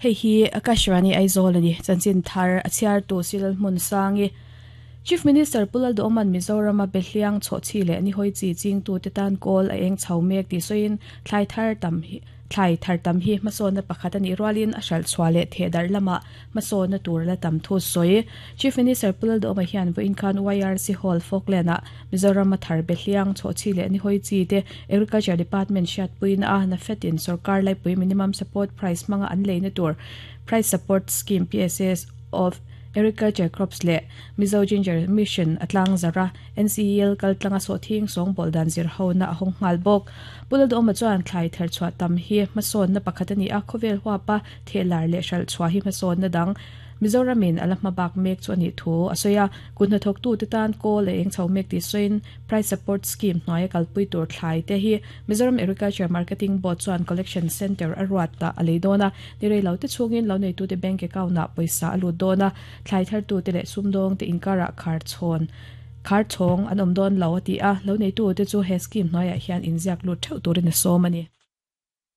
Hei hi Akashvani Aizawl a ni. Chanchin thar a chhiartu Silal Hmunsangi. Chief Minister Pu Lalduhawma'n Mizorama Behliang chhawhchhi leh nihawi chi chingtute tan kawl a eng chho mek tih sawiin thlai thar tam hi thlai thar tam hi hmasawnna pakhat a nih rualin a hralh chhuah leh thehdarh lamah hmasawnna tur la tam thu sawi. Chief Minister Pu Lalduhawma hian vawiin khan YRC Hall Falkland-ah Mizorama thar Behliang chhawhchhi leh nihawi chi te Agriculture Department hriatpuina a NAFED-in sorkar laipui Minimum Support Price hmanga an leina tur Price Support Scheme, PSS, of Agriculture Crops leh Mizo Ginger Mission a tlang zarh a, NCEL kaltlanga sawhthing sawngbawl dan zir hona a hawng nghal bawk. Pu Lalduhawma chuan thlai therchhuah tam hi hmasawnna pakhat a ni a, khawvel huapa thehlar leh hralhchhuah hi hmasawnna dang Mizoramin a la hma bak mek chu a nih thu a sawi a, kut hnathawktute tan kawl a eng chho mek tih sawiin Price Support Scheme hnuaia kalpui tur thlai te hi Mizoram Agriculture Marketing Board chuan Collection Centre a ruat tah a lei dawn a, ni rei lo te chhungin lo neitute bank account ah pawisa a lut dawn a, thlai thartute leh sumdawngte inkarah khar chhawn khar chhawng an awm dawn lo a ti a, lo neitute chu he scheme hnuaiah hian inziak lut theuh turin a sawm a ni.